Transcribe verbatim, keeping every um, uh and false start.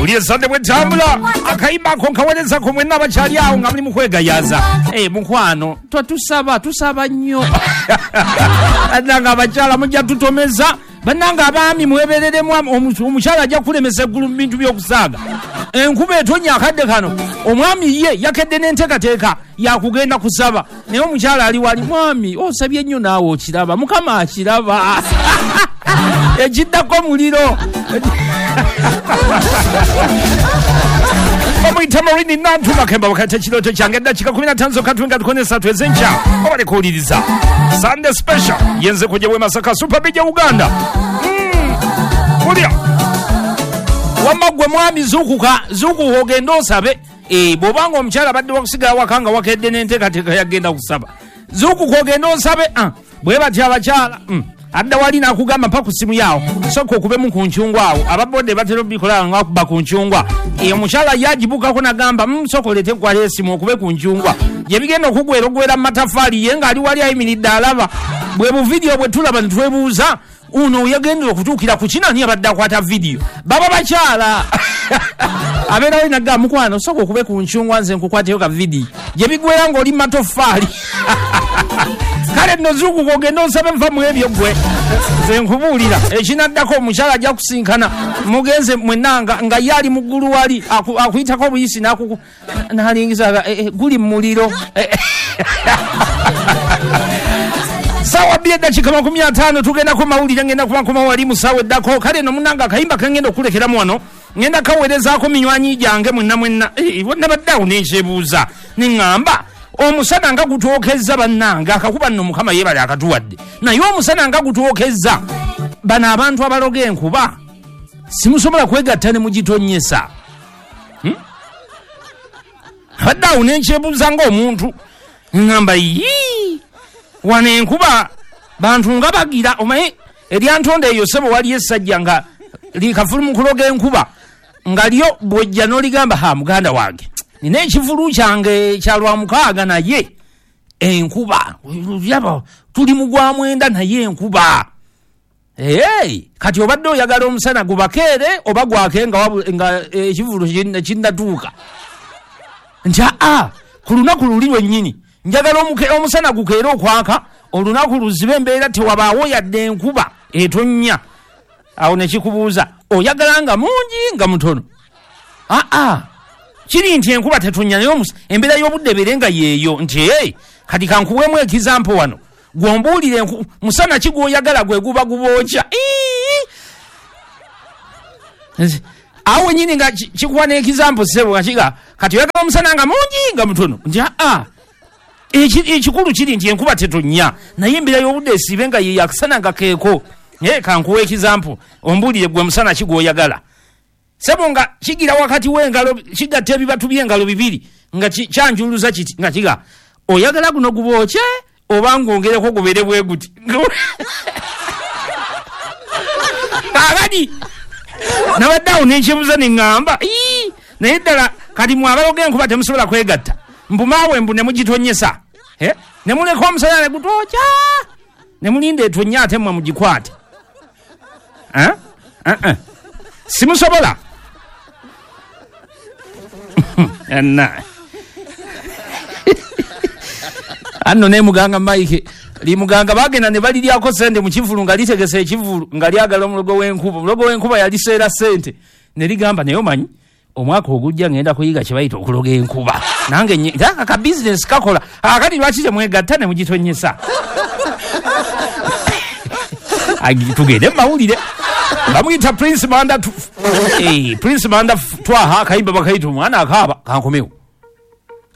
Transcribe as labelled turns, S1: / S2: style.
S1: Owulire Sande bwetambula akayimba ako nkaweerezako mwenna abakyali awo nga muli mu kwegayaza. Eh, mukwano twatusaba tusaba nnyo. Bannange abakyala mujja tutomeza. Bannange abaami mwebereremu, omukyala ajja kulemesa eggulu mu bintu by'okusaaga. Enkuba etonya akadde kano, omwami ye yakedde n'enteekateeka yakugenda kusaba, naye omukyala ali wali, mwami osabye nnyo naawe okiraba, Mukama akiraba. Ekiddako muliro. Bamuyita Marini Nantu Makemba wakati ekirooto kyange eddakiika kumi na ttaano zokka tuwenga tukone esatu ez'enkya obale kuwuliriza Sunday Special yenze kujja bwe Masaka Super B Uganda. Kulya wamma gwe mwami zuukuka, zuukuka ogende osabe. Eh, bw'obanga omukyala abadde wakusigala waka nga wakedde n'enteekateeka yagenda kusaba, zuukuka ogende osabe. Bwe batyo abakyala adda wali n'akugamba mpa ku ssimu yaawo, sooka okubemu ku ncungwa awo. Ababodde batera obikola nga bakuba ku ncungwa. Omukyala ye agibukako n'agamba sooka oleete nkwale essimu okube ku ncungwa. Gye bigenda okugwera ogwera mu matafaali, ye ng'ali wali ayimiridde alaba. Bwe buvidiyo bwe tulaba ne twebuuza uno yagendera okutuukira ku kino ani abadde akwata vidiyo. Baba bakyala abeerawo n'agamba mukwano sooka okube ku ncungwa nze nkukwateyo ka vidiyo. Gye bigwera ng'oli mu matofaali. Kale nno zuukuka ogende osabe nva mu ebyo ggwe. Nze nkubuulira ekinaddako omukyala ajja kusinkana mugenze mwenna nga ye ali mu ggulu wali akuyitako obuyisi n'alingiza guli mu muliro. Sawa bbiri eddakiika makumi ataano tugendako mawulire, ngenda kuba nkomawo wali mu ssaawa eddako. Kale nno munnange akayimba ke ngenda okulekeramu wano ngenda kaweerezaako minywanyi gyange mwenna mwenna. Nabadde awo ne nkyebuuza ne ŋŋamba omusana nga gutwokezza bannange, akakuba nno Mukama yeebale akatuwadde, naye omusana nga gutwokezza bano abantu abaloga enkuba simusobola kwegatta ne mugitonyesa. Abadde awo ne nkyebuuza ng'omuntu ŋŋamba yii wano enkuba bantu nga bagira. Omanyi eryantonda eyo ssebo waliyo essajja nga likafulu mu kuloga enkuba nga lyo bw'ojja n'oligamba ha muganda wange nina ekivulu kyange kya lwa mukaaga naye enkuba yaba tuli mu gwa mwenda naye enkuba. Hey, kati obadde oyagala omusana gubakeere oba gwake nga nga ekivulu kinnatuuka. Nti aa ku lunaku luli lwennyini njagala omusana gukeere okwaka, olunaku luzibe embeera tewabaawo yadde enkuba etonnya. Awo ne kikubuuza oyagala nga mungi nga mutono? Aa kiri nti enkuba tetonnya naye embeera y'obudde ebeere nga yeeyo. Nti hey, kati kankuweemu ekizampo wano gwombuulire musana ki gw'oyagala gwe guba gubookya. Awo wennyini nga kikuwa n'ekizampo ssebo nga kiga kati oyagala omusana nga mungi nga mutono. Nti aa ekikulu kiri nti enkuba tetonnya naye embeera y'obudde esiibe nga ye akasana nga keeko. Naye kankuwa ekizampo ombuulire gwe musana ki gw'oyagala. Sebo nga kigira wakati w'engalo kigatta ebibatu by'engalo bibiri nga kyanjuluza kiti nga kiga oyagala guno gubookye oba ngwongereko gubeere bwe guti. Kaakati nabadde awo ne nkyebuuza ne ŋŋamba naye ddala kati mwe abaloga enkuba temusobola kwegatta, mbumaawe mbu ne mugitonyesa ne muleka omusana ne gutwokya ne mulinda etonnya ate mmwe mugikwate. Simusobola. Anna anno ne muganga Mike limuganga bagenda ne baliryako sente mu kivulu nga litegese ekivulu nga lyagala omulogo w'enkuba. Omulogo w'enkuba yaliseera sente ne ligamba naye omanyi omwaka ogujja ngenda kuyiga kye bayita okuloga enkuba nange ka business kakola. Akati lwaki temwegatta ne mugitonyesa? Tugende mawulire. Bamuyita Prince Manda, eh, Prince Manda twaha akayimba bakayita omwana akaaba kankomewo.